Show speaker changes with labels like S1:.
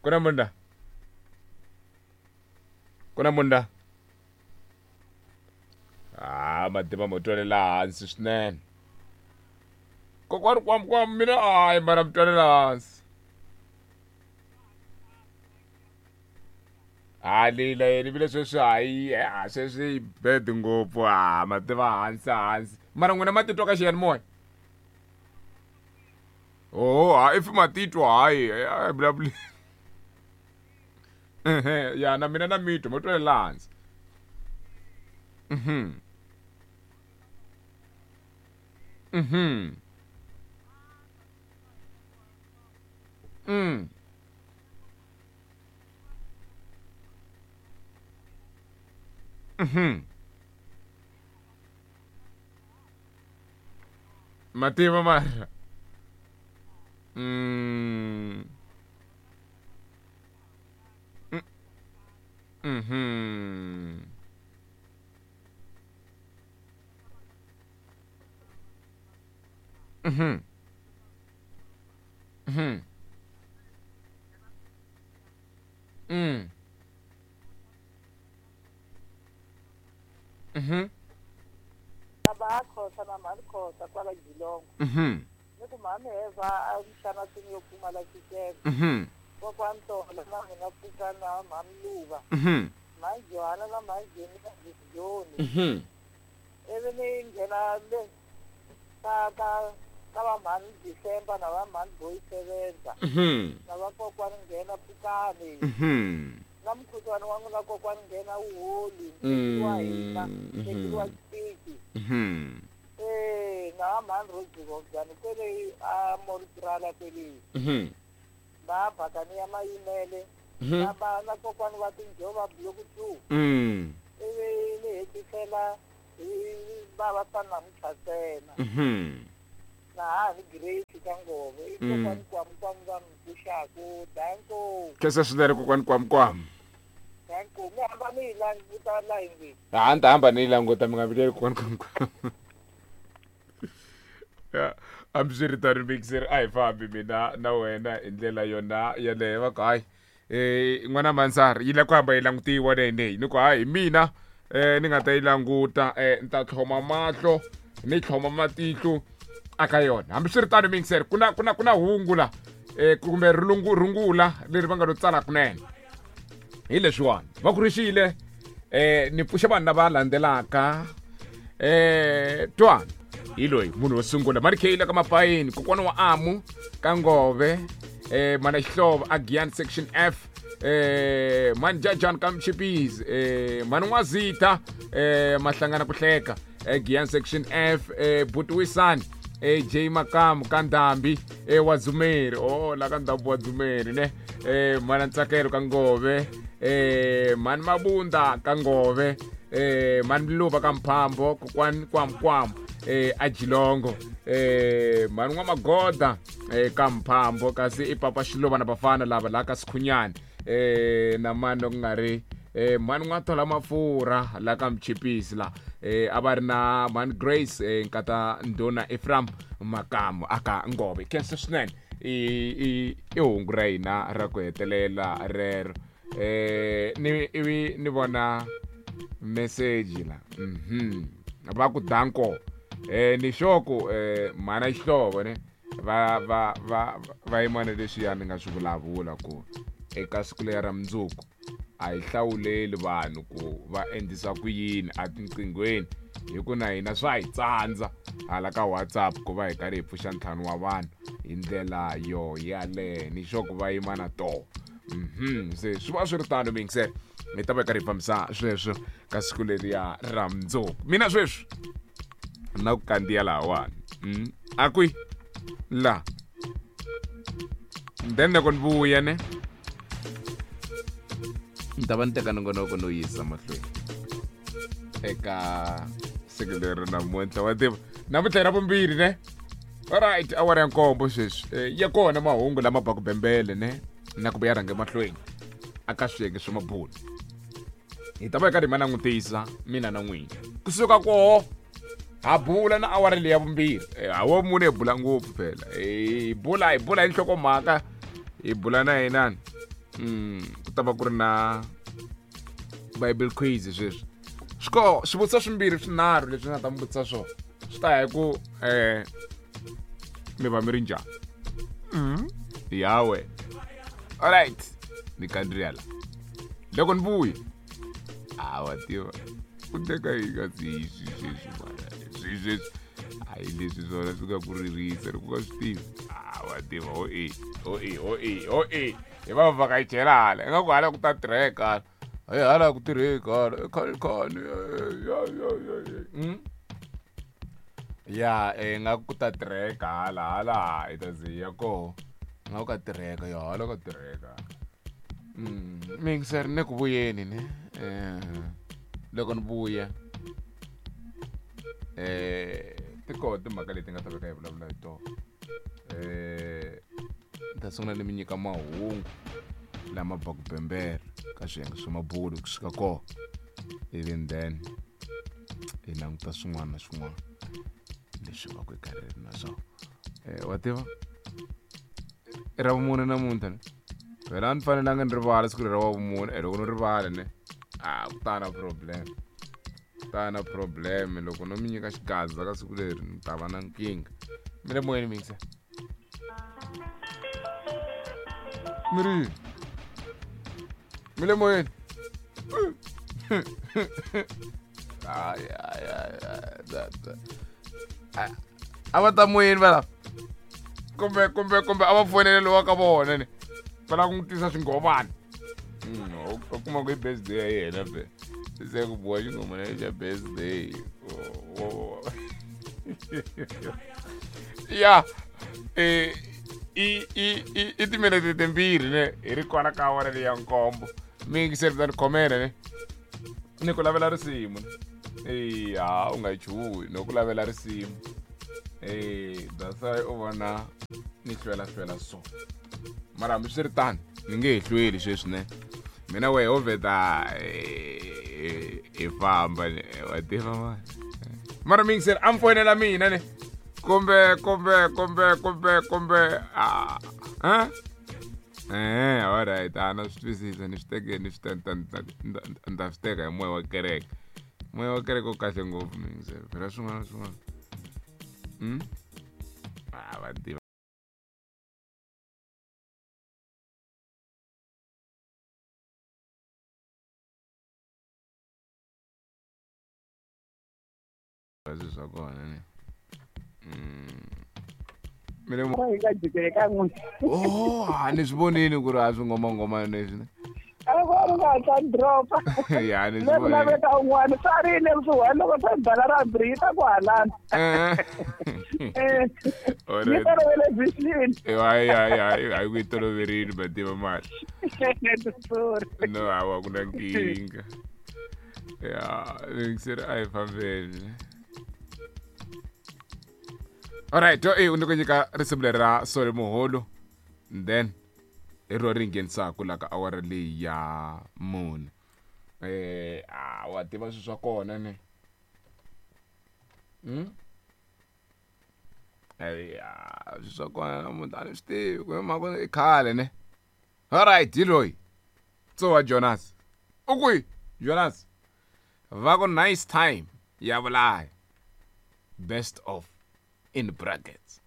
S1: Ku na munhu la? Ku na munhu la? Ah, mativa mo twelela hansi swinene. Kokwani kwam kwam mina hayi mara mi twelela hansi. Ha leyi la yena vile sweswi hayi a sweswi yi bad ngopfu ha mativa hansi hansi. Mara n'wina ma titwa ka xiyanimoya? Oh, ha if ma titwa hayi a hi vulavuli. Ehe, ya na mina na mitwa mo twelela hansi. Mativa mara.
S2: Baba a khosa na mhani khosa kwala Geelong. Ni ku mhani Heva a mixana swini yo pfumala xixevo. Kokwani Tola na mina Pfuka na mhani Luva. Mhani Johanna na mhani Jenny na Joni. Ivi ni nghena le ka ka ka va mhani December na va mhani Boy Sevenza. Na va kokwani nghena Pfukani. Na mukhuhlwani wa n'wina kokwani nghena wu holi. Wa hina. Tekeriwa xipiki. Na va mhani Rojirobyani kwele a Moritrala kwele. Va bakani ya mayimele. Na ba na kokwani va tinjova block 2. Ivi ni hetisela hi bava swa namuntlha ntsena. Na ha ni Grace ka Ngove. I kokwani kwamu kwamu va mi pfuxaku. Danko.
S1: Khensa swinene kokwani kwam kwam.
S2: Danko. Mi hamba mi yi languta la yindlwini.
S1: Ha ni ta hamba ni yi languta mi nga vileli kokwani kwam kwam. Ya, hambiswiritano mixer a hi fambi mina na wena hi ndlela yona yeleyo va ku hayi n'wana mansari yi la ku hamba yi langutiwa leyi ni ku hayi hi mina ni nga ta yi languta ni ta tlhoma mahlo ni tlhoma matihlo aka yona. Hambiswiritano mixer ku na ku na ku na hungu la kumbe rungula leri va nga lo tsala kunene hi leswiwani va ku rixile ni pfuxa vanhu lava landzelaka twana hi loyi munhu wo sungula marikheyile ka mapayini kokwana wa amu ka ngove mana xihlovo a Giyani section F mani jajani ka mchipizi mani n'wazita mahlangana ku hleka Giyani section F buti wisani J Makamu ka Ndhambi wa Dzumeri oh la ka Ndhambi wa Dzumeri ne mana Ntsakelo ka Ngove mani Mabunda ka Ngove mani Mluva ka Mphambo kokwani kwam kwam a Jilongo mani n'wa Magoda ka Mphambo kasi i papa Xiluva na bafana lava la ka Sikhunyani na mani loko nga ri mani n'wa thola mafurha la ka Mchipisi la a va ri na mani Grace nkata Ndhuna Ephraim Makamu aka Ngove. Khensa swinene i i hungu ra hina ra ku hetelela rero ni ivi ni vona message la va ku danko ni sure ku mhana xihlovo ne va va va va yima na leswiya ni nga swi vulavula ku eka siku leri ra mundzuku a hi hlawuleli vanhu ku va endlisa ku yini etinqinghweni hi ku na hina swa hi tsandza hala ka WhatsApp ku va hi karhi hi pfuxa ntlhanu wa vanhu hi ndlela yo yaleyo ni sure ku va yima na toho. Se swi va swi ri tano mingisele hi ta va hi karhi hi fambisa sweswo ka siku leriya ra mundzuku. Mina sweswi na ku kandziya lahawani a kwi la then loko ni vuya ne ni ta va ni teka nongonoko no yisa mahlweni eka siku leri namuntlha wa tiva namuntlha hi ra vumbirhi ne. Alright, awara ya nkombo sweswi ya kona mahungu lama baku bembele ne na ku ya rhange mahlweni aka swiyenge swa mabulu hi ta va hi karhi hi ma langutisa mina na n'wina kusuka koho ha bula na awara leyi ya vumbirhi hawo mune hi bula ngopfu phela hi bula hi bula hi nhlokomhaka hi bula na yinani. Ku ta va ku ri na Bible quiz sweswi. Swi koho swivutiso swimbirhi swinharhu leswi nga ta mi vutisa swona. Swi ta ya hi ku mi va mi ri njhani. Ya wena. Alright, ni kandziya la. Loko ni vuya, a wa tiva ku teka yi nga swi sweswi mara swi sweswi a hi leswi swona swi nga ku ririsa loko u nga swi tivi. A wa tiva ho e ho e ho e ho e hi va vhakachela hala ingaku hala ku ta tirheka hala hayi hala ku tirheki hala ekhalikhani ya ya ya ya ya ingaku ku ta tirheka hala hala hi ta ze hi ya koho ingaku ka tirheka ya hala ka tirheka. Mixer ni ku vuyeni ne loko ni vuya ti koho timhaka leti nga ta veka hi vulavula hi tona ni ta sungula ni mi nyika mahungu lama baku bembera ka swiyenge swa mabulo kusuka kona even then hi languta swin'wana na swin'wana leswi va ku hi karhi ri na swona wa tiva i ra vumune namuntlha ne phela a ni fanelanga ni rivala siku leri ra vumune e loko no rivala ne a ku ta na problem ku ta na problem loko no mi nyika xigaza ka siku leri ni ta va na nkingha mi le moyeni mixer mi ri yini mi le moyeni ay ay ay ay a va ta moyeni va lava kumbe kumbe kumbe a va fonele lowa ka vona ni va lava ku n'wi tisa swingomani u kuma ku i birthday ya yena be se ku boha xingomana xa birthday ya i timinete timbirhi ne hi ri kwala ka awara leyi ya nkombo mi yingiseri ta ni khomela ne ni ku lavela risimu eya u nga chuhi no ku lavela risimu that's why u vona ni hlwela hlwela so mara hambi swi ri tano ni nge he hlweli sweswi ne mina wehe ho vheta hi famba wa tiva mani mara mi yingiseri a mi foyinela mina ne kumbe kumbe kumbe kumbe kumbe a alright a na swi twisisa ni swi teke ni swi ni ta swi teka hi moya wa kereke moya wa kereke wu kahle ngopfu mi yingiseri phela swin'wana na swin'wana a va tiva swilo swa kona ne mi le
S2: hi nga jikeli ka n'wina
S1: oh a ni swi vonini ku ri a swi ngomangomana leswi ne
S2: a va ri nga hatla ni dropa
S1: ya ni
S2: le
S1: swi
S2: ku
S1: vonini
S2: laveka un'wana swa ri le kusuhani loko se bala ra bri yi ta ku halana ni tolovele vision
S1: hayi hayi hayi hayi ku yi toloverile va tiva mali
S2: sorry
S1: no hawa ku na nkingha ya yingiseri a hi fambeni alright to e ni ku nyika risimu leri ra sole muholo then hi ro ri nghenisaka la ka awara leyi ya mune a wa tiva swilo swa kona ne ya swilo swa kona namuntlha a ni swi tivi ku hi mhaka i khale ne alright hi loyi tsowa Jonas u kwihi Jonas va ku nice time ya vulaya best of in brackets.